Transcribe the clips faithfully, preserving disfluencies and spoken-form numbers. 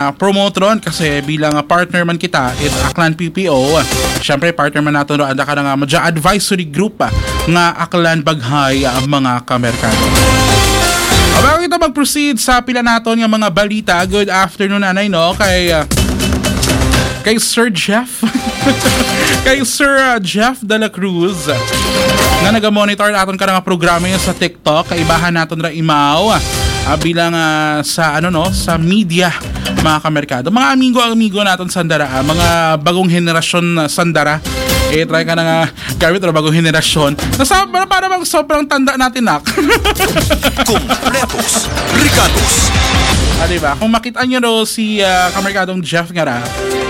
ah, promote ron kasi bilang, ah, partner man kita, it Aklan P P O. Siyempre, partner man naton ron, anda ka na nga, madya advisory group, ah, nga Aklan Baghay, ah, mga kamerkado. Bago kita mag-proceed sa pila naton nga mga balita, good afternoon, anay, no? Kay, ah, kay Sir Jeff. Kay Sir, ah, Jeff de la Cruz, nga naga-monitor aton ka nga programa sa TikTok, kaibahan naton ra imaw, ah, bilang, ah, sa, ano, no, sa media, mga kamerkado. Mga amigo-amigo naton sandara, ah, mga bagong henerasyon, ah, sandara. Eh, try ka na nga gamit ra bagong henerasyon. Nasa, para, para bang sobrang tanda natin, nak. Kompletos, brigados. Ah, di ba? Kung makita nyo daw si, ah, kamerkadong Jeff nga ra,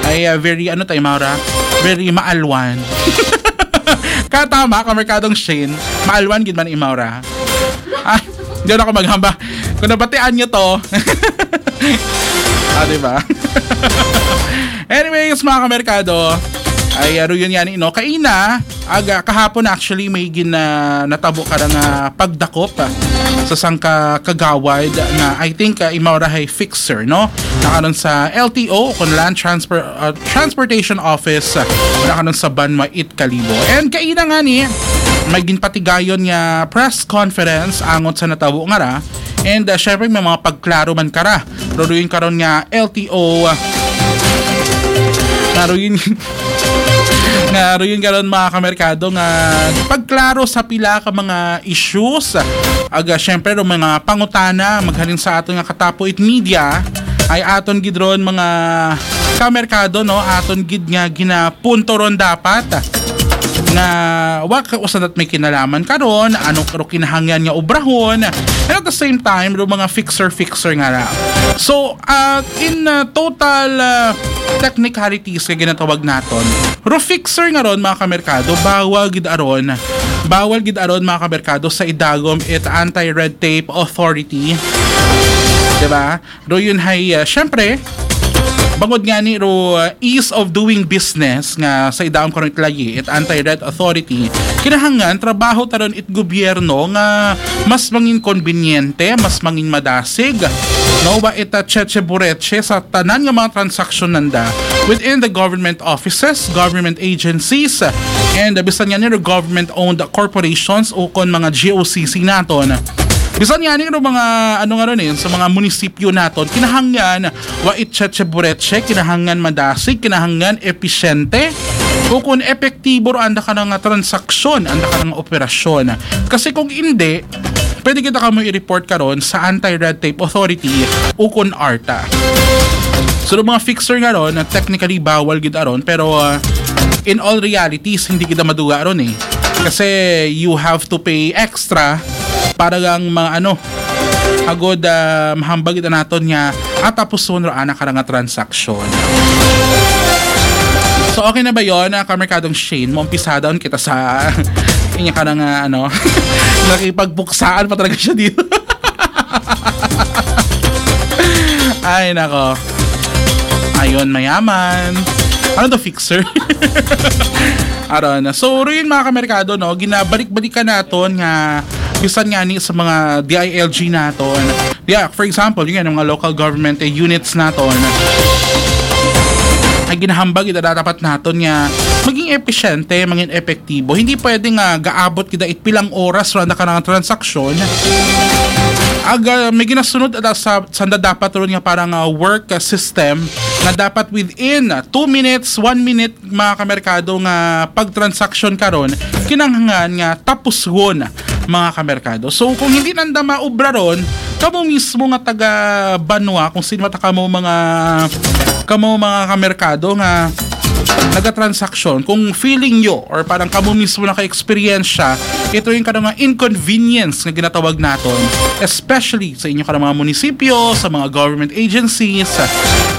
ay, ah, very, ano tayo, Maura? Very maalwan. Katama, kamerkadong Shane, maalwan gid man imaw ra. Ah, di na ako maghamba. Kung nabatian nyo to, ah, di ba? Anyways, mga kamerkado, ay, ah, aro yun yan, no? Kaina, aga, kahapon actually may gin, ah, natabo ka nga pagdakop, ah, sa sangka kagawad nga, I think, ah, imaw ra hay fixer, no? Nakaron sa L T O, kung Land Transfer, ah, Transportation Office, ah, nakaron sa Banwa It Kalibo. And kaina nga ni, may ginpatigayon nga press conference angot sa natabo nga ra. And, ah, syempre, may mga pagklaro man kara. Ruruin karon nga L T O, ah, nga ruin, nga ruin karon, mga kamerkado, nga pagklaro sa pila ka mga issues. Aga, syempre, ro mga pangutana, maghalin sa aton nga Katapo It Media, ay aton gid ron mga kamerkado, no? Aton gid nga ginapunto ron dapat nga wa ka usa nat may kinalaman karon, ano karo kinahanglan nga obrahon, and at the same time, ro mga fixer-fixer nga ra. So, uh, in, uh, total, uh, technicalities nga ginatawag naton, ro fixer nga ron, mga kamerkado, bawal gid aron, bawal gid aron, mga kamerkado, sa idagom it anti-red tape authority. Diba? Ro yun hay, uh, syempre, bangod nga ni ro, uh, ease of doing business nga sa idagom karon itlayi, it anti-red authority, kinahanglan trabaho taron it gobyerno nga mas mangin konbinyente, mas mangin madasig, no, wa ita cheche bureche sa tanan nga mga transaksyon nanda within the government offices, government agencies, and, uh, bisan nga nila government-owned corporations o kon mga G O C C naton. Bisan nga nila mga, ano nga ron eh, sa mga munisipyo naton, kinahanglan wa itcheche bureche, kinahanglan madasig, kinahanglan episyente, o kon epektibo ro anda ka nga transaksyon, anda ka nga operasyon. Kasi kung hindi, pwede kita kamo i-report karon sa Anti-Red Tape Authority o kon ARTA. So, yung mga fixer nga ron, na technically bawal gid aron, pero, uh, in all realities, hindi kita maduga ron eh. Kasi you have to pay extra para lang mga ano, agod, uh, mahambag kita naton nga atapuson ro ana ka nga transaksyon. So, okay na ba yon, uh, kamerkadong Shane? Maumpisada kita sa inya ka nga, ano, nakipagpuksaan pa talaga siya dito. Ay, nako. Ayun, mayaman. Ano to, fixer? Aron. So, rin mga kamerkado, no, ginabalik-balikan naton nga bisan nga ni sa mga D I L G naton. Yeah, for example, yun nga, mga local government, eh, units naton. Ay ginahambag ito dapat naton nga maging episyente, maging epektibo. Hindi pwede nga gaabot kita it pilang oras ron na kanang transaksyon. Aga, may ginasunod ata sa sanda dapat ron nga parang, ah, work, ah, system na dapat within, ah, two minutes, one minute, mga kamerkado, nga pagtransaksyon karon kinahanglan nga tapusgon, mga kamerkado. So kung hindi nanda maubra ron, kamo mismo nga taga banwa, kung sino mata kamo mga, kamo mga kamerkado nga nagatransaksyon, kung feeling nyo or parang kamo mismo naka-experience siya, ito yung kanang mga inconvenience nga ginatawag naton, especially sa inyo kanang mga munisipyo, sa mga government agencies,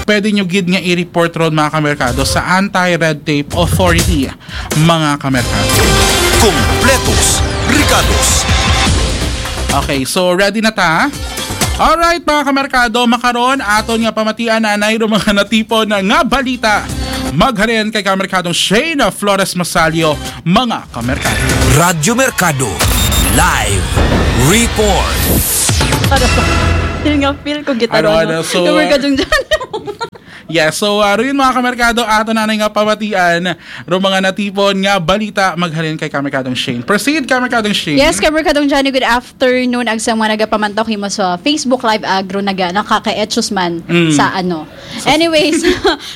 pwede nyo gid nga i-report ron, mga kamerkado, sa Anti-Red Tape Authority, mga kamerkado. Kompletos, brigados. Okay, so ready na ta? Alright, mga kamerkado, makaron aton nga pamatian anay ro mga natipon nga balita. Maghalin kay kamerkadong Shane Flores Masalio, mga kamerkado. Radyo Merkado, live report. Ano? Yun nga, feel ko gitaro, Ano, no? ano, so, Yung Merkadong John. Yes, so uh, rin mga kamerkado, ato na nga pamatian ro mga natipon nga balita maghalin kay Kamerkadong Shane. Proceed, Kamerkadong Shane. Yes, Kamerkadong Johnny, good afternoon. Ag sa mga nagapamantaw kimo sa Facebook Live, agro naga nakakaetsos man Mm. sa ano. Anyways,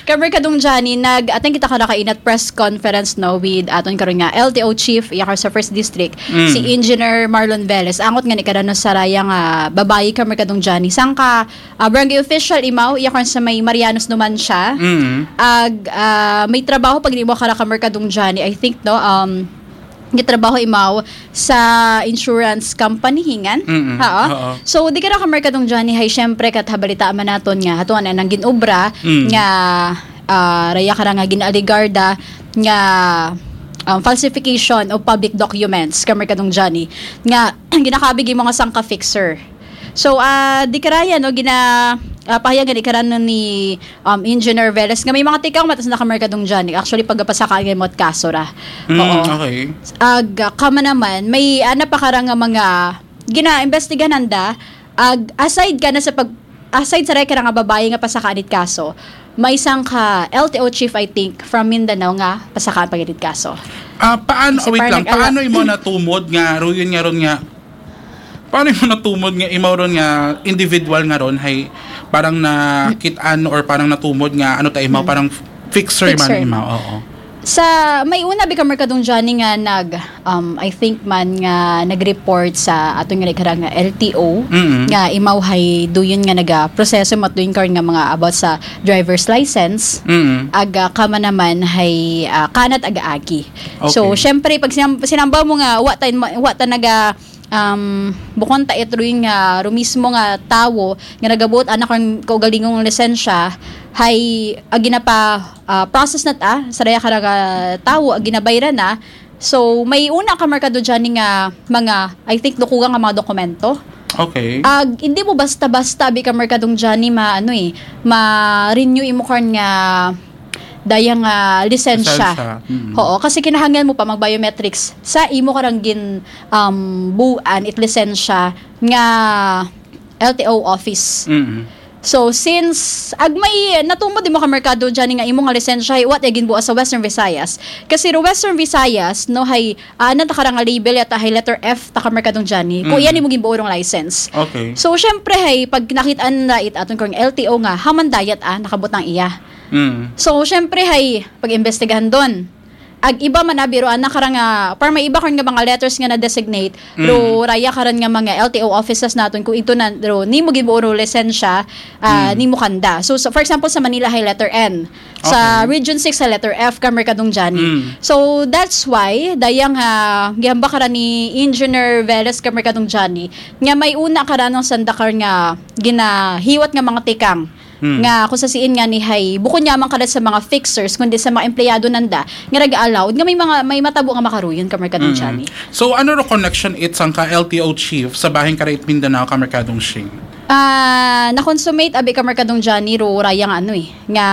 Kamerkadong Johnny, nag-attend kita kada kainat press conference, no, with aton karon nga L T O chief, iya ka sa first district, Mm. si Engineer Marlon Velez. Angot nga ni kada no saraya nga babayi, Kamerkadong Johnny. Sangka ah, barangay official imaw, iya karon sa may Marianos naman siya. Mm. Ag ah, may trabaho pag nimo kara Kamerkadong Johnny, I think, no, um gitrabaho imaw sa insurance company hingan. Mm-mm. Ha, oh? Oo. So di kara Kamerkadong Johnny, hay syempre kat habalita man naton nga hatuan na nang ginobra Mm. nga ah, raya kara nga ginaaligarda nga um, falsification of public documents, Kamerkadong Johnny, nga ginakabig mo nga sangka fixer. So, ah, di karaya, no, gina ah, pahayag gani karan ni um, Engineer Velez nga may mga tikang matas na Kamerkadong Johnny. Actually, pagapasaka nga mo kaso ra. Mm, Oo. Okay. Ag ah, kama naman, may ana pa kara nga mga gina-investigahan da. Ag aside ka na sa pag aside sa raya kara nga babayi nga pasakaan it kaso, may isang ka L T O chief, I think, from Mindanao nga pasakaan pa gid it kaso. Ah, paano, Kasi wait parang lang, nag-ala- paano imo natumod nga, ruyon nga ron nga, paano imo natumod nga imo ron nga individual nga ron, hay parang nakit-an or parang natumod nga, ano ta imo, parang fixer man Fixer. Imo, oo. Sa may una bi ka Merkadong Johnny nga nag um, I think man nga nag-report sa aton nga nagkara nga L T O Mm. nga imaw hay duyon nga naga proseso mat duyon karon nga mga about sa driver's license. Mm. Aga kama naman hay ah, kanat aga-agi. So Okay. syempre pag sinam- sinamba mo nga wa ta wa ta naga um, bukon ta itruy nga rumismo nga tawo nga nagabuot anak ang kaugalingong lisensya hay agi na pa ah, process na ta sa daya ka tawo agi na bayra na. So may una ka Merkado Johnny nga mga I think dukuga nga mga dokumento. Okay. Ag hindi mo basta-basta bi ka Merkadong Johnny ma ano eh ma-renew imo karon nga daya nga lisensya. Lisensya. Mm. Oo, kasi kinahanglan mo pa mag-biometrics sa imo karang gin um, buan it lisensya nga L T O office. Mm. So since ag may natumod mo ka Merkado Johnny nga imo nga lisensya hay wa tay ginbuas sa Western Visayas. Kasi ro Western Visayas no hay ah, ano ta karang nga label yata hay letter F ta ka Merkadong Johnny. Kung Mm. iyan imo ginbuo rong license. Okay. So syempre hay pag nakit-an na it aton kung L T O nga haman dayat ah nakabutang iya. Mm. So syempre hay pag-imbestigahan don. Ag iba man abi ro ana karang nga para may iba karon nga mga letters nga na-designate ro raya karon nga mga L T O offices naton kung ito na ro nimo gibuo ro lisensya ah, nimo kanda. So, so for example sa Manila hay letter N. Sa Okay. Region six sa letter F ka Merkadong Johnny. Mm. So that's why dayang ha gihambak ra ni Engineer Velez ka Merkadong Johnny nga may una ka ranong sandakar nga ginahiwat nga mga tikang Hmm. nga kung sa siin nga ni hay bukod nga man kada sa mga fixers kundi sa mga empleyado nanda nga nag-allowed nga may mga may matabo nga makaruyon ka Merkadong Mm. Johnny. So ano ro connection it sang ka L T O chief sa bahin ka it Mindanao ka Merkadong Shing? Ah, na-consummate abi ka Merkadong Johnny ro raya nga ano eh nga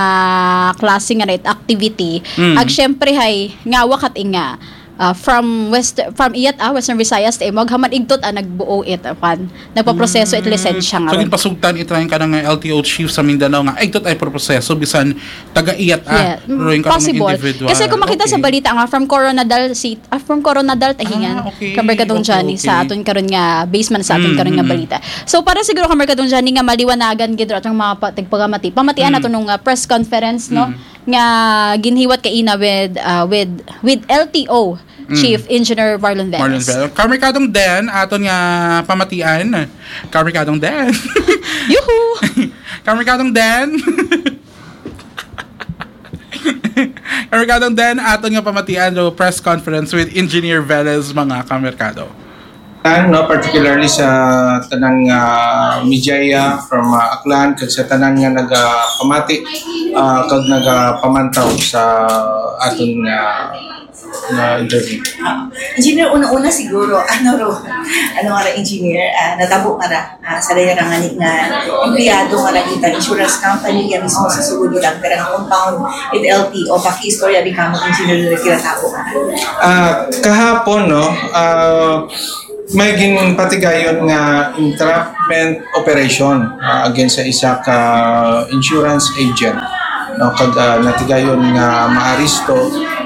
klase nga night activity. Mm. Ag syempre hay nga wakat nga ah, from West from iyat ah Western Visayas ta imog haman igtot ah nagbuo it ah, kwan nagpaproseso it lisensya nga So ron. Ginpasugtan it lang ka nga L T O chief sa Mindanao nga ay tot ay proseso bisan taga iyat ah Yeah, mm, ruin ka ng possible. Individual. Kasi kung makita sa Okay. balita nga from Coronadal City, ah, from Coronadal tahingan, Ah, okay. Kamerkadong Okay, Johnny sa okay. aton karon nga basement sa aton Mm, karon nga mm, balita. So para siguro Kamerkadong Johnny nga maliwanagan gid ra atong mga pa- tagpagamati, pamatian Mm. nato nung ah, press conference no Mm. nga ginhiwat kaina with ah, with with L T O Mm. Chief Engineer Marlon Veras. Marlon Bell. Kamerkadong Den, aton nga pamatian. Kamerkadong Den. Yuhu! Kamerkadong Den. Kamerkadong Den, aton nga pamatian do press conference with Engineer Velez, mga kamerkado. Tan, no, particularly sa tanan nga media from ah, Aklan kag sa tanan nga nagapamati ah, kag nagapamantaw sa aton nga nga interview. Engineer, una-una siguro, ano ro, ano nga ra, engineer, ah, natabo nga ra, ah, sa daya nga ni nga empleyado nga nakita insurance company nga mismo sa sulod lang pero nga compound with L T O, paki-istorya bi kamo engineer na kinatabo nga ra. Ah, kahapon, no, ah, May ginpatigayon nga entrapment operation, ah, against sa isa ka insurance agent, no, kag, ah, natigayon nga maaresto,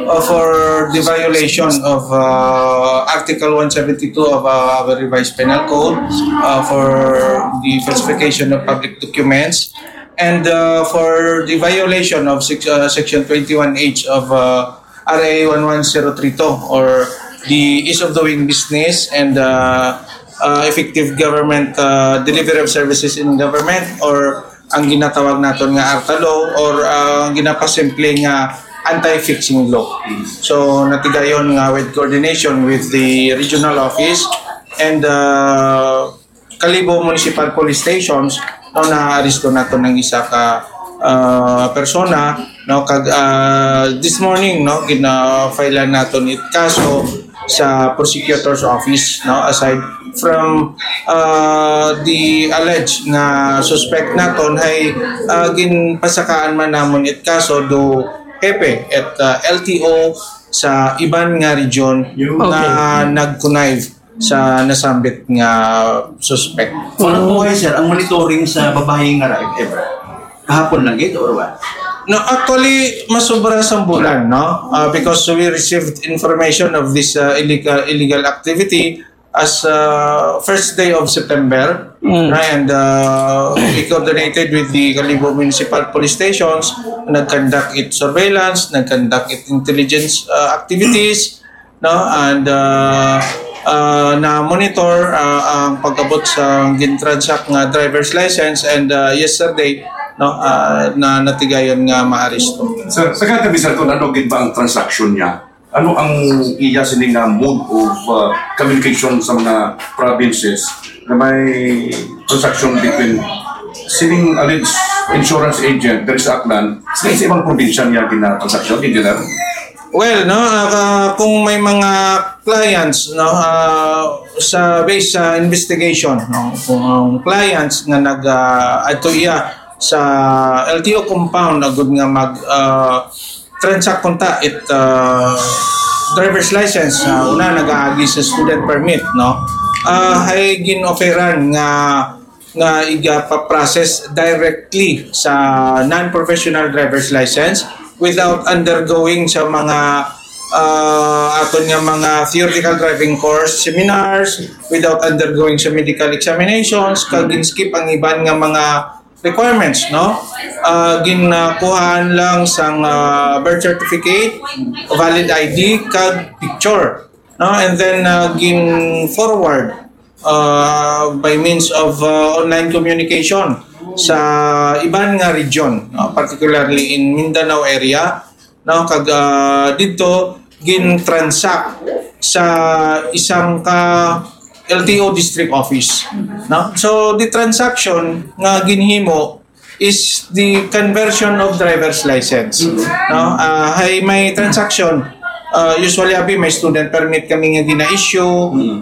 uh, for the violation of, uh, Article one seventy-two of, uh, our Revised Penal Code, uh, for the falsification of public documents, and, uh, for the violation of six, uh, Section twenty-one H of, uh, R A one one zero three two, or the ease of doing business and, uh, uh, effective government, uh, delivery of services in government, or ang ginatawag naton nga ARTA law, or, uh, ang ginapasimple nga anti-fixing law. So, natigayon nga with coordination with the regional office and, uh, Kalibo Municipal Police Stations, no, naaresto naton ang isa ka, ah, persona, no, kag, ah, this morning, no, gina-filean naton it kaso sa prosecutor's office, no, aside from, ah, the alleged nga suspect naton, hay, ah, ginpasakaan man namon it kaso do hepe at, ah, L T O sa iban nga region Yun. nga Okay. nag-connive sa nasambit nga suspect. Ano po kayo, sir, ang monitoring sa babae nga rape, ever? Kahapon lang ito, or what? No, actually, masobra sa bulan, no? Uh, because we received information of this, uh, illegal, illegal activity as, uh, first day of September. Mm. And, uh, we coordinated with the Kalibo Municipal Police Stations, nag-conduct it surveillance, nag-conduct it intelligence, uh, activities, no? And, uh, uh, na-monitor, uh, ang pag-abot sa gintransact nga driver's license, and, uh, yesterday, no, uh, na natigayon nga maaresto. Sir, sa katabi, sir, kung ano gid ba ang transaksyon niya? Ano ang iya sini nga mode of, uh, communication sa mga provinces na may transaction between sining alleged insurance agent diri sa Aklan sa, sa ibang probinsya niya ginatransaksyon, Engineer? Well, no, ah, kung may mga clients, no, ah, sa, based sa investigation, no, kung ang clients nga nag, ah, adto iya sa L T O compound, agud nga mag, ah, transact kunta it, ah, driver's license, ah, una nagaagi sa student permit, no, ah, hay gin-offeran nga nga igapaprocess directly sa non-professional driver's license without undergoing sa mga, ah, aton nga mga theoretical driving course seminars, without undergoing sa medical examinations, kag gin-skip ang iban nga mga requirements, no? Ah, ginkuhaan lang sang, ah, birth certificate, valid I D, kag picture, no? And then, ah, gin-forward, ah, by means of, ah, online communication sa iban nga region, no? Particularly in Mindanao area, no? Kag, ah, didto gin-transact sa isang ka L T O district office, no? So, the transaction nga ginhimo is the conversion of driver's license, no? Ah, hay may transaction, ah, usually, abi, may student permit kami nga gina-issue,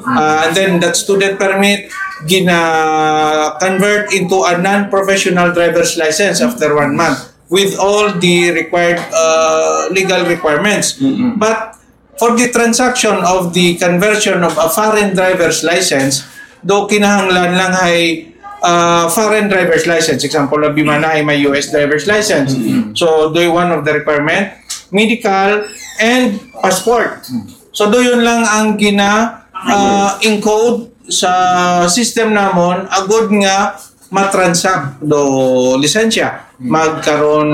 ah, and then that student permit gina-convert into a non-professional driver's license after one month with all the required, uh, legal requirements. Mm-mm. But for the transaction of the conversion of a foreign driver's license, do kinahanglan lang hay, uh, foreign driver's license. Example, abi man na hay may U S driver's license. Mm-mm. So, do one of the requirement, medical and passport. Mm. So, do yun lang ang gina, uh, encode sa system namon, agud nga matransact do lisensya. Hmm. Magkaroon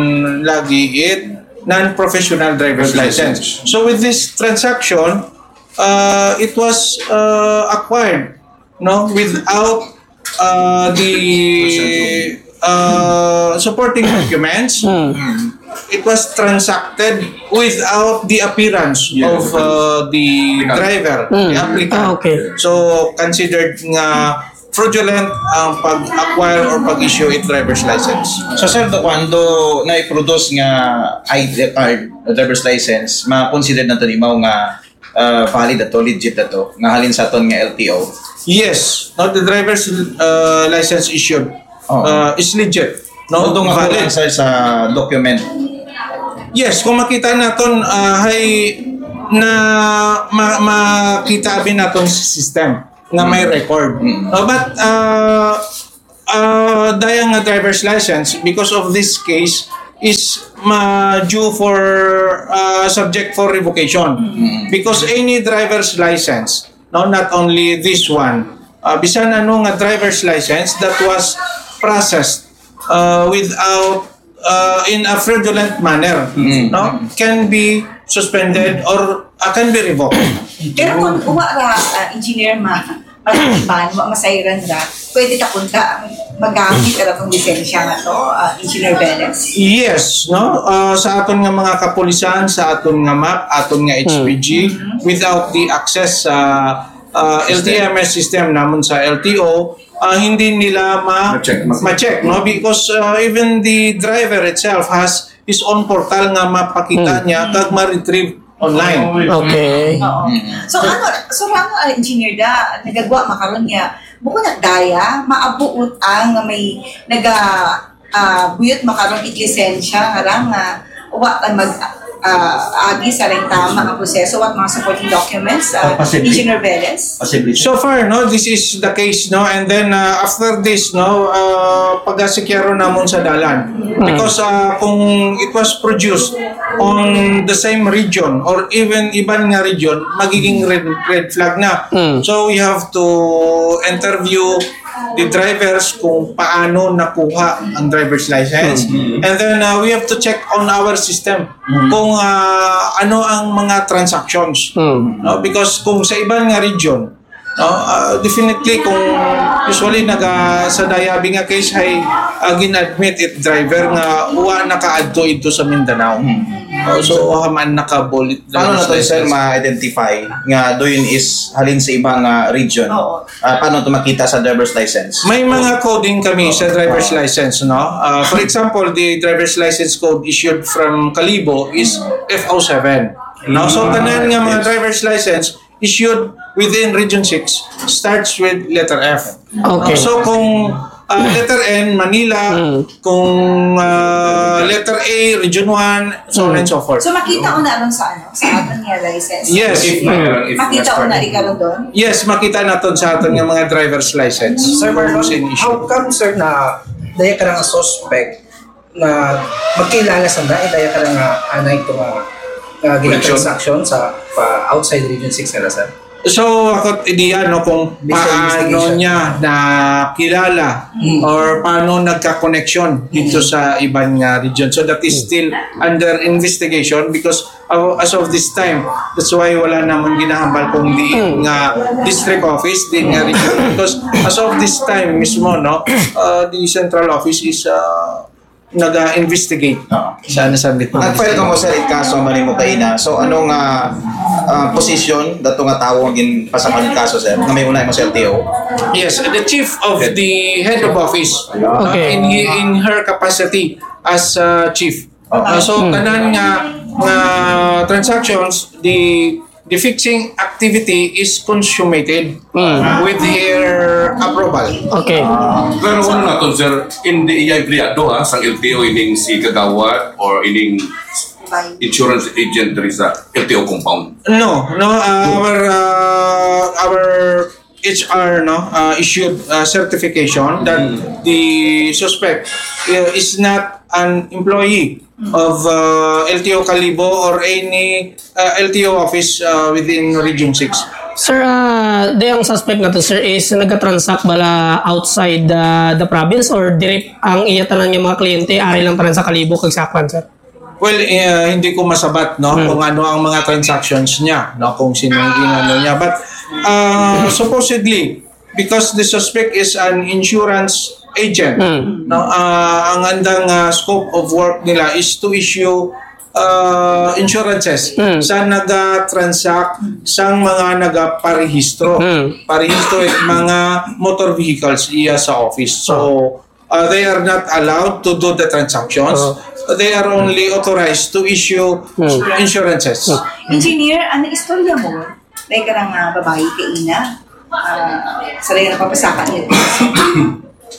lagi it non-professional driver's Driver's license. License. So with this transaction, uh, it was, uh, acquired, no, without, uh, the, uh, supporting documents. Hmm. It was transacted without the appearance Yes. of, uh, the Applicant. driver, Hmm. the applicant. Ah, okay. So considered nga fraudulent ang pag-acquire or pag-issue it driver's license. So, sir, do, kung do na-produce nga I D card, driver's license, ma-consider na to ni mao nga, uh, valid ato, legit ato, nga halin sa aton nga L T O? Yes, no, the driver's, uh, license issued, Oh. uh, is legit, no? Although nga valid, kulang, sir, sa document. Yes, kung makita naton, uh, hay na ma-, makita abi naton sa system. nga may record. No, but uh, uh, daya nga driver's license, because of this case, is ma due for uh, subject for revocation, because any driver's license, no, not only this one, uh, bisan ano nga driver's license that was processed uh, without uh, in a fraudulent manner, no, can be suspended or uh, can be revoked. Pero kung uwa ra, ah, engineer ma, matiban, wa masayran ra, pwede ta punta ang magamit ra tong lisensya nga to, ah, Engineer Velez? Yes, no? Uh, sa aton nga mga kapulisan, sa aton nga map, aton nga H P G, without the access sa uh, L T M S system namon sa L T O, uh, hindi nila ma- Ma-check, ma- ma-check, no? Because uh, even the driver itself has his own portal nga mapakita niya kag ma-retrieve online. Okay. Oo. So ano, so lang uh, engineer da, nagagwa makaron niya. Bukod na daya, maabuot ang nga may naga ah, buyot makaron ig lisensya nga ra nga wa ay mag ah, agi sa ring tama nga proseso, what mga supporting documents, ah, Posible. Engineer Velez? Posible. So far, no, this is the case, no, and then uh, after this, no, uh, pagasikyaron namon sa dalan, because uh, kung it was produced on the same region or even iban nga region, magiging red, red flag na. So we have to interview the drivers kung paano nakuha ang driver's license, and then uh, we have to check on our system kung uh, ano ang mga transactions, no, because kung sa iban nga region, no, uh, definitely kung usually naga sa dayabi nga case ay uh, gin-admit it driver nga wa nakaadto ito sa Mindanao. Uh, so haman naka-bullet Paano na to, sir, license. Ma-identify nga doon is halin sa iba nga region? Oo. Ah, paano to makita sa driver's license? May mga coding kami sa driver's license, no? Uh, for example, the driver's license code issued from Kalibo is F O seven. No? So, tanan nga mga driver's license issued within Region six starts with letter F. Okay. So, kung uh, letter N, Manila, kung uh, letter A, Region one, so on and so forth. So makita ko na ron sa ano, sa aton nga license. Yes. If, if, if Makita ko na rin karon doon. Yes, makita naton sa aton nga mga driver's license. Sir Marlon, Same issue. How come, sir, na daya ka nga suspect na magkilala sa na, daya ka nga anay to nga uh, Connection. Transaction sa pa outside Region six nila, sir? So, ako ideya, no, kung Based on paano investigation. Niya nakilala or paano nagka-connection dito sa iban nga region. So, that is still under investigation because uh, as of this time, that's why wala namon ginahambal kung di nga district office, di nga region. Because as of this time mismo, no, uh, the central office is uh, naga-investigate Oo. sa nasabit mo. Nag-file ka mo, sir, kaso man mo kaina. So, ano nga ah, position dato nga tawo ang ginpasaman ng kaso, sir? Nga may unay mo sa L T O? Yes, the chief of the head of office Okay. in in her capacity as uh, chief. Uh, so tanan nga nga transactions, the the fixing activity is consummated with her approval. Okay. Pero ano naton, sir, hindi iya empleyado ha, sang L T O ining si Kagawad or ining insurance agent diri sa L T O compound. No, no, uh, our uh, our H R, no, uh, issued uh, certification that the suspect uh, is not an employee of uh, L T O Kalibo or any uh, L T O office uh, within Region six. Sir, ah, di ang suspect nato, sir, is nagka-transact bala outside the, the province or diri ang iya tanan nga mga kliyente ari lang tanan sa Kalibo kag Saklan, sir? Well, uh, hindi ko masabat, no, kung ano ang mga transactions niya, no, kung sino ang ginano niya. But uh, supposedly, because the suspect is an insurance agent, no, uh, ang andang uh, scope of work nila is to issue uh, insurances sa naga-transact sang mga nagaparehistro. Parehistro it mga motor vehicles iya sa office. So, uh, they are not allowed to do the transactions. They are only authorized to issue insurances. Engineer, ano istorya mo? May ka nga babae kaina? Ah, sa rin napapasaka niya.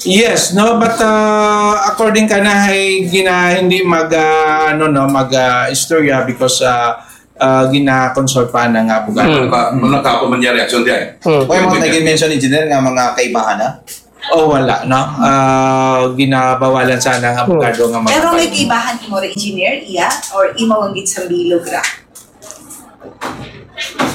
Yes, no, but uh, according ka na ay gina, hindi mag uh, ano, no, mag uh, istorya because uh, uh, gina-consult pa na nga abogado. Ano ka, ano ka pa man niya reaksyon diyan? Hmm. May mga nag-mention, engineer, nga mga kaibahan na? O wala, no? Uh, ginabawalan sana nga abogado nga Pero may makapag- kaibahan imo ra, engineer, iya? Or imo ang gitsambilog ra?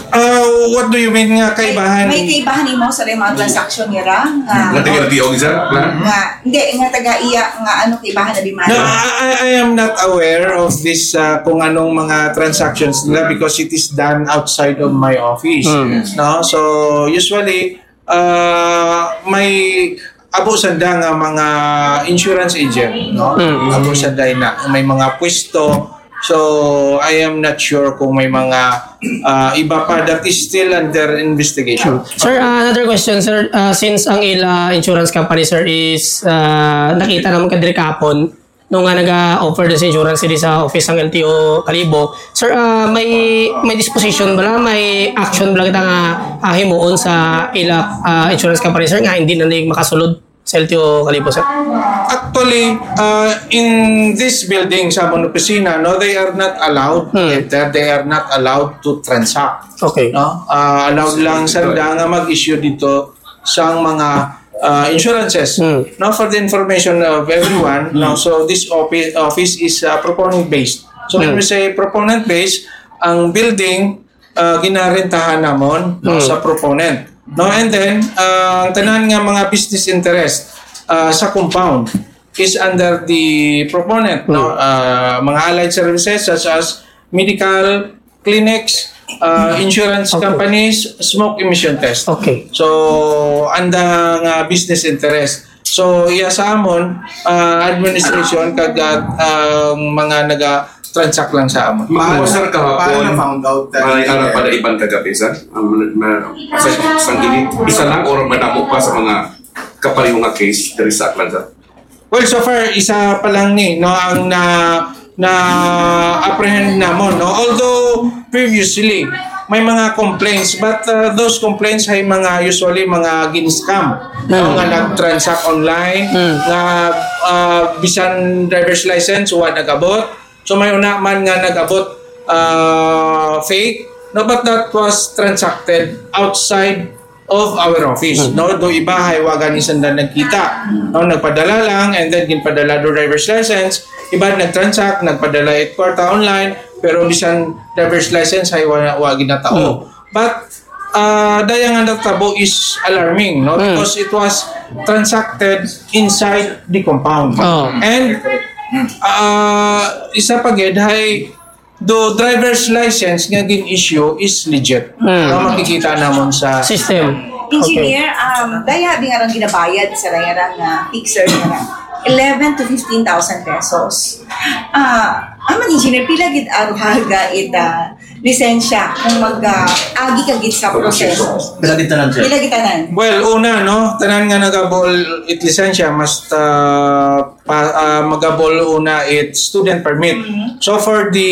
Uh, what do you mean nga kaibahan? May kaibahan imo sa mga transaction nira? Nga, Nga taga L T O, isa? Na? nga, hindi, nga taga iya, nga ano kaibahan na di man? No, I, I- I am not aware of this uh, kung anong mga transactions nila because it is done outside of my office. No, so usually uh, may abo sanda nga mga insurance agent, no? Abo sanda na may mga pwesto. So I am not sure kung may mga uh, iba pa that is still under investigation. Sir, uh, another question, sir. Uh, since ang ila insurance company, sir, is uh, nakita naman ka diri kahapon, nung nga nag-offer din sa insurance diri sa office sang L T O Kalibo, sir, uh, may may disposition bala, may action bala kita nga uh, himuon sa ila uh, insurance company, sir, nga hindi na ning makasulod sa L T O Kalibo, sir? Actually, uh, in this building sa amon opisina, no, they are not allowed to enter, they are not allowed to transact. Okay. No? Uh, allowed lang sanda nga mag-issue dito sang mga uh, insurances. No, for the information of everyone, no, so this office office is uh, proponent based. So when we say proponent based, ang building uh, ginarentahan namon, no, sa proponent. No, and then uh, ang tanan nga mga business interest uh, sa compound is under the proponent, no. Uh, mga allied services such as medical, clinics, uh, insurance companies, smoke emission test. Okay. So anda nga business interest. So iya sa amon uh, administration kag uh, ang mga naga-transact lang sa amon. Mag-usar kahapon. Paano na-found out that May ara pa na iban kagabi, sir? Ang ma- ma- sa sang init, isa lang or madamo pa sa mga kapareho nga case diri sa Aklan, sir? Well, so far isa pa lang ni, no, ang na na apprehend namon, no. Although previously may mga complaints, but uh, those complaints ay mga usually mga gin-scam, no, nga nag-transact online, nga uh, bisan driver's license wa nag-abot. So may una man nga nag-abot uh, fake, no, but that was transacted outside of our office, no? Do iba hay wa gani sanda nagkita, no? Nagpadala lang and then ginpadala do driver's license, iba nag-transact, nagpadala it kwarta online, pero bisan driver's license hay wa, wa ginatao. But uh, daya nga natabo is alarming, no? Because it was transacted inside the compound. Oh. And uh, isa pa gid hay do driver's license nga gin-issue is legit. Nga makikita namon sa System. Engineer, um, daya bi nga rang ginabayad sa rayarang uh, fixer nga eleven to fifteen thousand pesos. Ah, aman engineer, pila gid ang haga ita lisensya kung mag uh, agi ka gid sa proseso? Pila gid tanan, sir? Pila gid tanan? Well, una, no, tanan nga nagabol it lisensya must uh, pa, uh, magabol una it student permit. So for the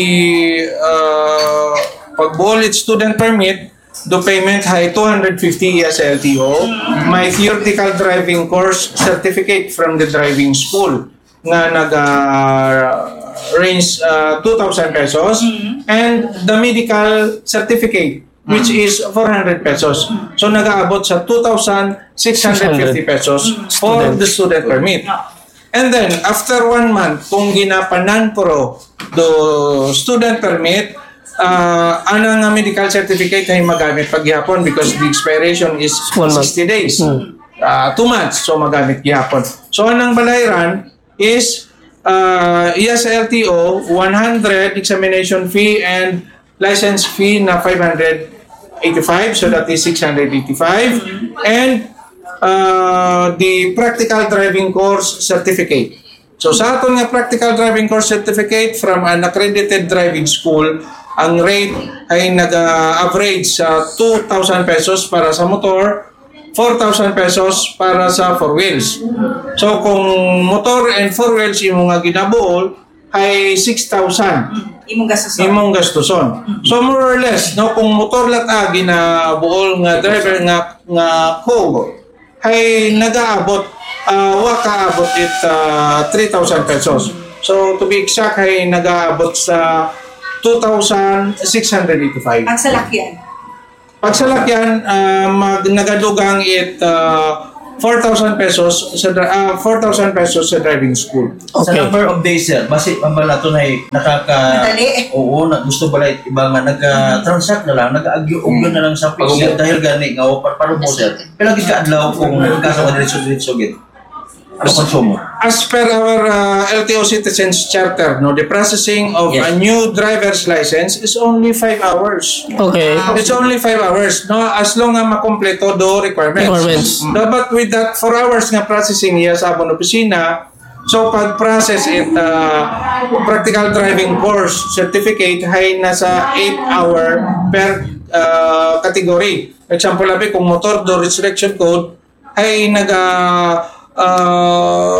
uh, pagbuol it student permit, do payment hay two hundred fifty iya sa L T O, may theoretical driving course certificate from the driving school nga naga range uh, two thousand pesos and the medical certificate which is four hundred pesos. So nagaabot sa two thousand six hundred fifty pesos for the student permit. And then after one month kung ginapanan pro do student permit, uh, anang nga medical certificate ay magamit paghihapon because the expiration is One month. sixty days. Uh, two months, so magamit gihapon. So anang balayran is uh, iya sa L T O, one hundred examination fee and license fee na five hundred eighty-five, so that is six hundred eighty-five, and uh, the practical driving course certificate. So sa aton nga practical driving course certificate from an accredited driving school, ang rate ay nag-average sa two thousand pesos para sa motor, four thousand pesos para sa four wheels. So kung motor and four wheels imo nga ginabuol ay six thousand Imong gastuson. Imong gastuson. So more or less, no, kung motor lang ah, ginabuol nga driver nga nga Hogue, ay nagaabot uh, wa kaabot it uh, three thousand pesos. So to be exact, ay nagaabot sa two thousand six hundred eighty-five. Ang salakyan? Pag salakyan, ah, mag-, nagadugang it, ah, four thousand pesos sa dri-, ah, four thousand pesos sa driving school. Sa Okay. number of days, sir, basi pa bala to na nakaka- Madali. Oo, na gusto bala iba nga nag-transact na lang, nag-agyo-ugyo Mm. na lang sa pag-, dahil gani nga, o, pa-, paano mo, sir? Pila gid ka adlaw kung kaso ka diretso-diretso gid? Ano konsumo? As per our, uh, L T O Citizens Charter, no, the processing of Yes. a new driver's license is only five hours. Okay. It's only five hours, no, as long nga makompleto do requirements. Requirements. No, but with that four hours nga processing niya sa amon opisina, so pag-process it, uh, practical driving course certificate hay nasa eight hour per, uh, category. Example, abi, kung motor do restriction code, ay naga, ah,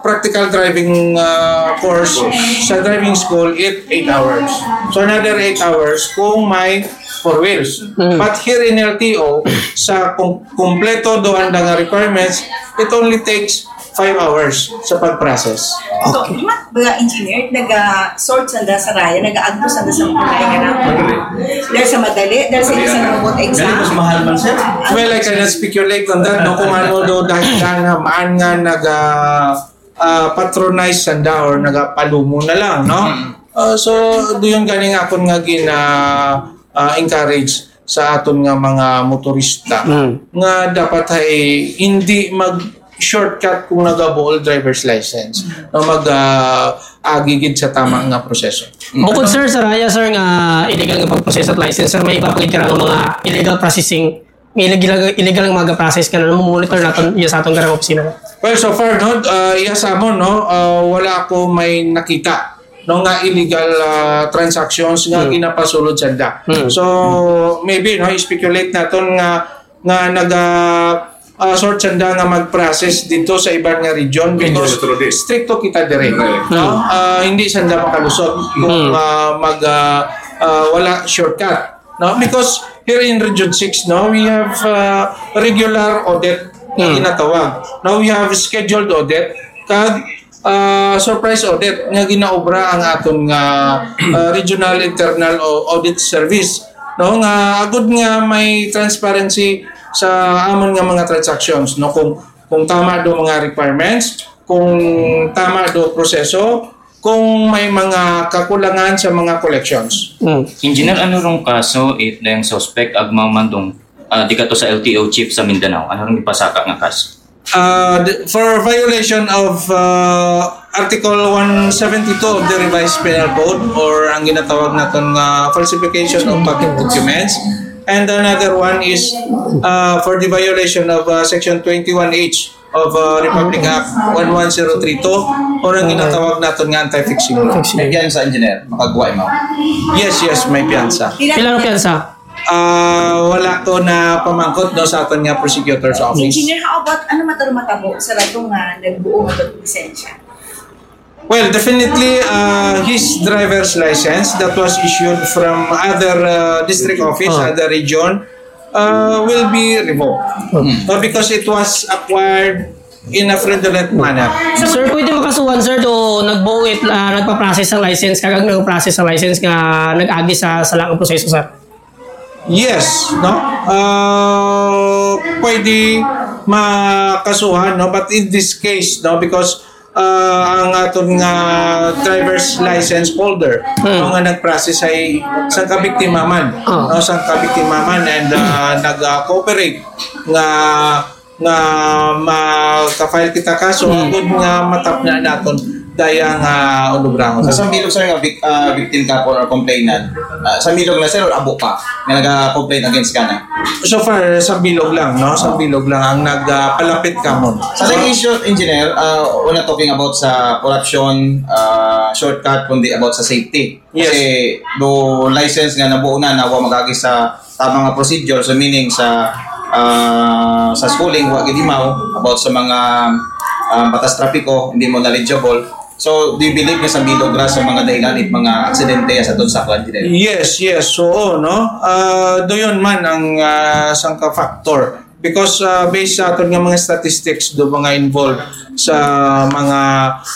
practical driving, ah, course sa driving school, it eight hours. So, another eight hours kung may four wheels. Mm. But here in L T O, sa kum-, kumpleto do ang nga requirements, it only takes five hours sa pag-process. So, mga, mga engineer, naga-sort sanda sa raya, naga-agto sanda sa mga raya na. Madali. Dahil sa madali, dahil sa isa na robot exam. Dahil mas mahal man, sir. Well, I cannot speculate on that, no? Kung ano do dahil lang naman nga naga, ah, patronize sanda or nagapalumo na lang, no? Mm. Ah, so, do yun ganing akon nga gina, ah, encourage sa aton nga mga motorista Mm. nga dapat ay hindi mag-shortcut kung nagabuol driver's license, no, mag, ah, agi gid sa tama nga proseso. Bukod, sir, sa raya, sir, nga illegal nga pagprocess at license, sir, may iba pa gid ka nga mga illegal processing, may illegal, illegal nga mga process ka na monitor naton iya sa aton garang opisina. Well, so far, no, ah, iya sa amon, no, ah, wala ako may nakita, no, nga illegal, ah, transactions nga Hmm. ginapasulod sanda. Hmm. So, maybe, no, speculate naton nga, nga naga, ah, sort sanda nga mag-process dito sa iban nga region because Region. stricto kita dire, Right. no? Hmm. Ah, hindi sanda makalusot kung, Hmm. ah, mag, ah, ah, wala shortcut, no? Because here in Region six, no, we have, ah, regular audit na Hmm. ginatawag. Now we have scheduled audit kag, ah, surprise audit nga ginaobra ang aton nga, ah, Regional Internal Au-, Audit Service, no, nga agud nga may transparency sa amon nga mga transactions, no, kung, kung tama do mga requirements, kung tama do proseso, kung may mga kakulangan sa mga collections. Mm. Engineer, ano rong kaso it dayang suspect agmaw man dong, ah, di kato sa L T O chief sa Mindanao? Ano rong ipasaka nga kaso? Uh, the, for violation of, uh, Article one seventy-two of the Revised Penal Code, or ang ginatawag naton nga falsification of public documents, and another one is, uh, for the violation of, uh, Section twenty-one H of, uh, Republic Act one one zero three two, or ang ginatawag naton nga anti-fixing law. May piyansa, engineer? Makagwa mo? Yes, yes, may piyansa. Pila ang piyansa? Ah, wala ko na pamangkot, no, sa aton nga prosecutor's office. Engineer, how about, ano mataro matabo sa rato nga nagbuo nga lisensya? Well, definitely, uh, his driver's license that was issued from other, uh, district office, Oh. other region, uh, will be revoked. Oh. Uh, because it was acquired in a fraudulent manner. Sir, pwede makasuhan, sir, do nagbuo it, ah, nagpa-process ang license, kag ang nagpa-process ang license nga nag-agi sa, sa laang proseso, sir? Yes, no? Uh, pwede makasuhan, no? But in this case, no, because, uh, ang aton nga driver's license holder, Hmm. no, nga nag-process ay sang kabiktima man, Oh. no, sang kabiktima man, and, uh, nag, uh, cooperate nga, nga maka-file kita kaso, Hmm. agud nga matapna naton daya nga ulubrahon. Sa, sa bilog, sir, nga vic-, ah, victim ka po or complainant, ah, sa bilog na, sir, or abo pa nga naga-complain against ka na? So far, sa bilog lang, no? Sa bilog lang ang nagpalapit kamon. Sa second issue, engineer, ah, we're not talking about sa corruption, ah, shortcut, kundi about sa safety. Yes. Kasi do license nga nabuo na, na wa mag-agi sa tama nga procedure, so meaning sa, ah, sa schooling, wa gid imaw about sa mga, ah, batas trapiko, hindi mo knowledgeable. So, do you believe nga sa bilog ra sa mga dahilan it mga aksidente sa aton saklan, engineer? Yes, yes, oo, no? Ah, do yun man ang, ah, sangka factor. Because, uh, based sa aton nga mga statistics do mga involved sa mga,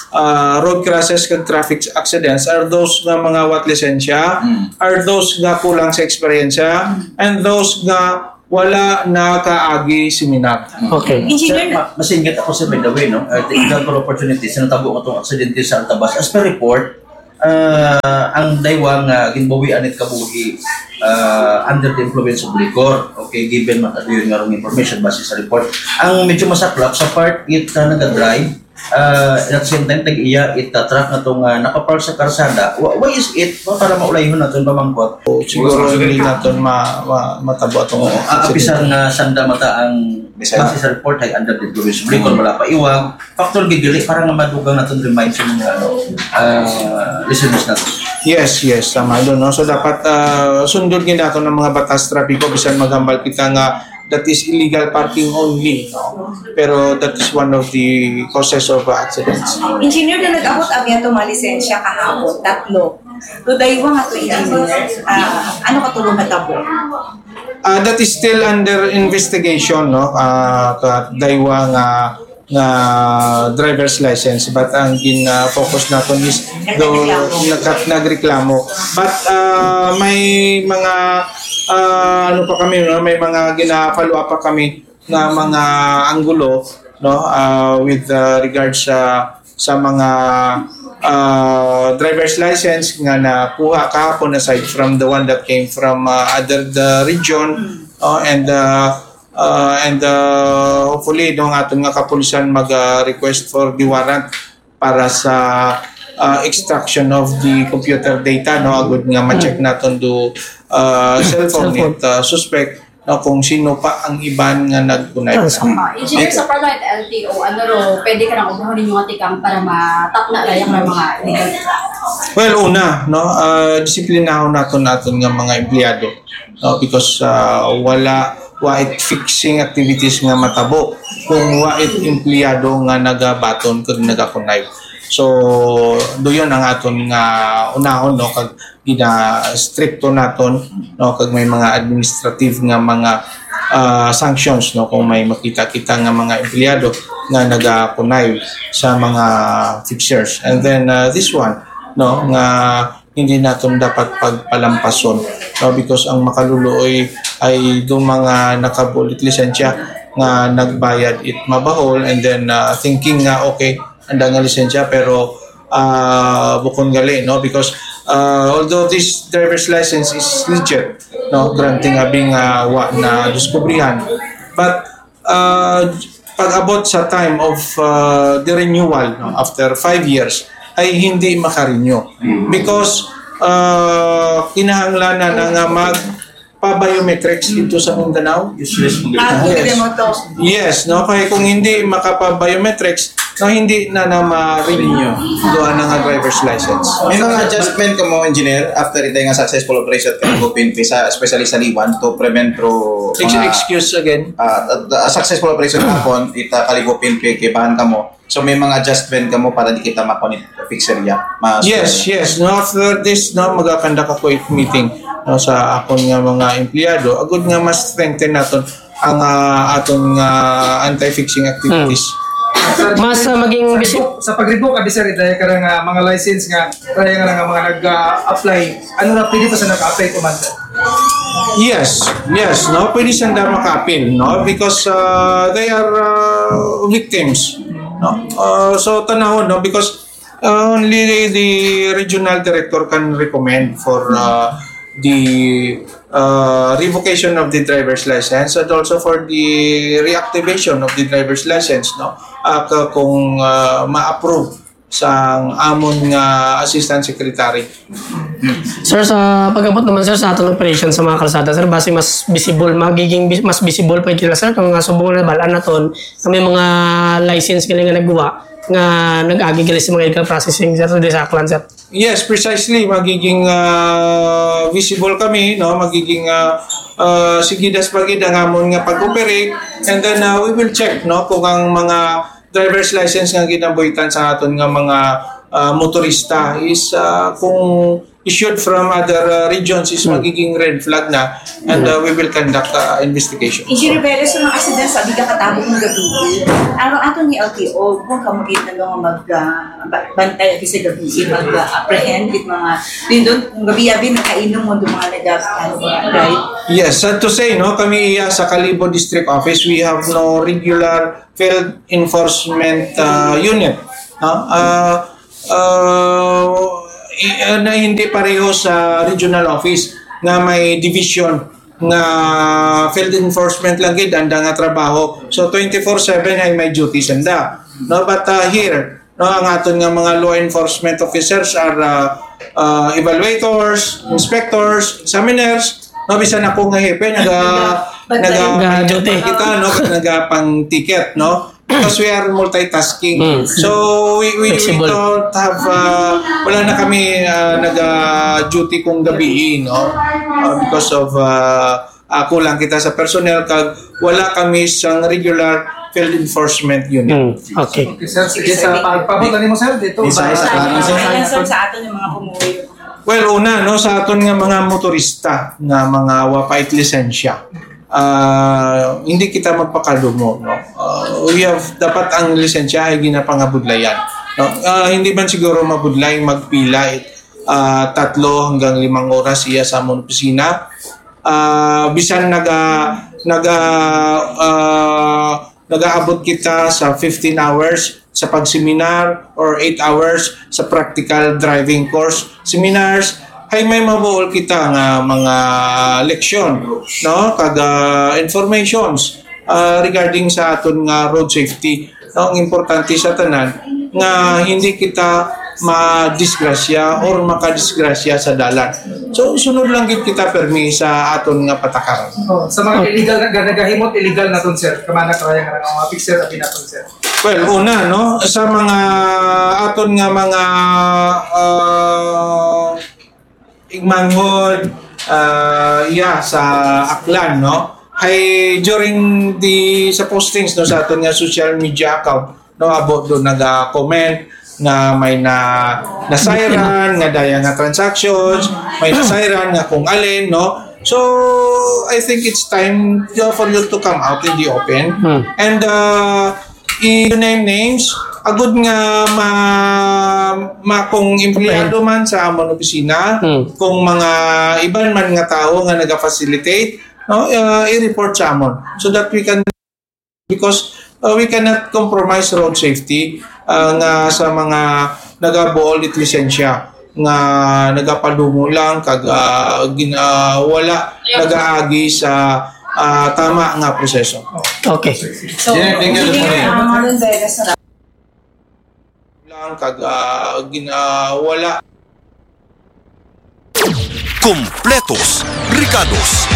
uh, road crashes kag traffic accidents are those nga mga wat lisensya, are those nga kulang sa eksperyensya, and those nga wala nakaagi seminar. Okay. Engineer, ma- masingit ako sa, by the way, no? Uh, the equal opportunity sa natabo nga tong aksidente sa Altabas. As per report, uh, ang daywang uh, ginbawian it kabuhi uh, under the influence of liquor. Okay, given man yun nga wrong information base sa report. Ang medyo masaklap sa part it uh, nagadrive, uh, at the same time tag-iya it uh, truck na tong uh, nakapark sa karsada. Why is it? Para maulayhon naton pamangkot. Siguro hindi naton ma, ma, matabo atong uh, apisan nga sanda mata ang base sa report ay under the influence of liquor, wala pa iwag. Factual gid gali para nga madugang naton remind sa mga ano, uh, listeners natin. Yes, yes, tama doon, no? So dapat uh, sundon gid naton ang mga batas trapiko bisan maghambal kita nga that is illegal parking only, no? Pero that is one of the causes of uh, accidents. Engineer, na nag-abot ang yato mga lisensya kahapon, tatlo. Today, wa nga to engineer. Ah, ano ka tulong matabo? Uh, that is still under investigation, no? Uh, kadaywa nga nga driver's license, but ang gin-focus naton is do nagkat nagreklamo. But uh, may mga uh, ano pa kami, no? May mga gina-follow up pa kami na mga anggulo, no, uh, with uh, regards sa sa mga uh, driver's license nga nakuha kahapon, aside from the one that came from uh, other the region, uh, and uh, uh, and uh, hopefully, no, ang aton nga kapulisan mag uh, request for the warrant para sa uh, extraction of the computer data, no, agud nga ma-check naton do uh, cellphone, cellphone. It uh, suspect, no, kung sino pa ang iban nga nagkunay. Uh, engineer, sa Parliament L T O, ano ro, pwede ka nang ubrahon ninyo nga tikang para matapna layang ng mga illegal? Well, una, no, uh, disiplinahon naton naton nga mga empleyado, no, because uh, wala wa it fixing activities nga matabo kung wa it empleyado nga nagabaton kag nagakunay. So, do yun ang aton nga unahon, no, kag gina-stricto naton, no, kag may mga administrative nga mga uh, sanctions, no, kung may makita kita nga mga empleyado nga nagakunay sa mga fixtures. And then uh, this one, no, nga hindi naton dapat pagpalampason, no, because ang makaluloy ay do mga nakabulit lisensya nga nagbayad it mabahol, and then uh, thinking nga okay, anda nga lisensya, pero uh, bukon gali, no, because uh, although this driver's license is legit, no, granting abi nga wa na diskubrihan, but uh, pag-abot sa time of uh, the renewal, no, after five years, ay hindi makarenew because uh, kinahanglanan na nga mag pa-biometrics dito sa Mindanao. Useless mo Ah, gid. pwede mo to. Yes, no, kaya kung hindi makapa-biometrics, no, hindi na na ma-renew doon nga driver's license. May mga adjustment ka mo, engineer, after ito nga successful operation ka ng P N P sa, especially sa Liwan, to prevent through Ex- mga, excuse again. Ah, uh, successful operation hapon, ita kaligo P N P kibahan ka mo. So may mga adjustment ka mo para di kita makonit pizzeria. Mas Yes, yes. No, after this, no, mag-conduct ako it meeting, no, sa akon nga mga empleyado. Agud nga mas strengthen naton ang ah, aton nga anti-fixing activities. Mas uh, maging bisi- Sa pag-revoke abi sir, dahil ka nga mga license nga, dahil nga nga mga nag-apply, ano na pwede pa sa nag-apply to man? Yes, yes, no, pwede sanda maka-appeal, no, because uh, they are uh, victims, no. Uh, so tanahon, no, because uh, only the regional director can recommend for uh, the uh, revocation of the driver's license and also for the reactivation of the driver's license, no, uh, k- kung uh, ma-approve sang amon nga assistant secretary. Sir, sa pag-abot naman sir sa aton operation sa mga kalsada sir, basi mas visible, magiging bis- mas visible pa gid sila sir kung nga subong na balaan naton nga may mga license gali nga nagwa nga nag-agi gali sa mga illegal processing sir sa Disaklan sir. Yes, precisely. Magiging uh, visible kami, no? Magiging uh, uh, sigidas pa gid ang amon nga pag-operate, and then uh, we will check, no, kung ang mga driver's license nga ginabuhitan sa aton nga mga uh, motorista is uh, kung issued from other uh, regions is magiging red flag na, and uh, we will conduct uh, investigation. Engineer Velez, sa mga aksidente sa Biga Katabog ng gabi, ang aton ni L T O, kung kamo kita nga mag ah, ba- bantay ati sa gabi, mag ah, apprehend it mga nindon kung gabi-abi nakainom mo do mga nag drive. Yes, sad to say, no, kami iya sa Kalibo District Office, we have no regular field enforcement uh, unit. No? Uh, uh, i- uh, na hindi pareho sa regional office nga may division nga field enforcement lang gid anda nga trabaho. So twenty-four seven ay may duty sanda. No, but uh, here, no, ang aton nga mga law enforcement officers are uh, uh, evaluators, inspectors, examiners, no, bisan ako nga hepe naga naga Nag-duty. Kita, no, nagapang ticket, no, because we are multitasking. Mm. So we we, we Flexible. Don't have uh, wala na kami uh, naga duty kung gabi, no, uh, because of uh, uh, kulang kita sa personnel kag wala kami sa regular field enforcement unit. Mm. Okay. Okay, sir. Sige, sa pagpabot na nimo, sir, dito. Isa, isa, sa- Ano, sir, sa aton yung mga kumuwi? Well, una, no, sa aton nga mga motorista nga mga wa pa it lisensya, ah, hindi kita magpakadumo, no. Ah, we have dapat ang lisensya ay ginapangabudlayan, no. Ah, hindi man siguro mabudlay magpila it ah, tatlo hanggang limang oras iya sa amon opisina. Ah, bisan naga naga ah, nagaabot kita sa fifteen hours sa pagseminar or eight hours sa practical driving course seminars, ay may mabuol kita nga mga leksyon, no, kag ah, informations ah, regarding sa aton nga road safety. No, ang importante sa tanan nga hindi kita madisgrasya or makadisgrasya sa dalan. So, sunod lang gid kita permi sa aton nga patakaran. Oh, sa mga illegal na nagahimot, illegal naton, sir. Kamana kaya nga mga fixer abi naton, sir. Well, una, no, sa mga aton nga mga uh, igmanghod, uh, yeah, sa Aklan, no, ay during the sa postings, no, sa aton nga social media account, no, abo do naga-comment nga may na na-siren, nga daya nga transactions, may na-siren nga kung alin, no. So I think it's time, uh, for you to come out in the open. Hmm. And uh, i-name names, agud nga ma, ma kung empleyado man sa amon opisina, Hmm. kung mga iban man nga tawo nga naga-facilitate, no, uh, i-report sa amon so that we can, because uh, we cannot compromise road safety uh, nga sa mga nagabuol it lisensya nga nagapadumo lang kag uh, gin, uh, wala nagaagi sa uh, tama nga proseso. Okay. So, Engineer, thank you. Engineer, uh, Marlon Vegas, lang kag uh, gin, uh, wala. Kompletos, rikados,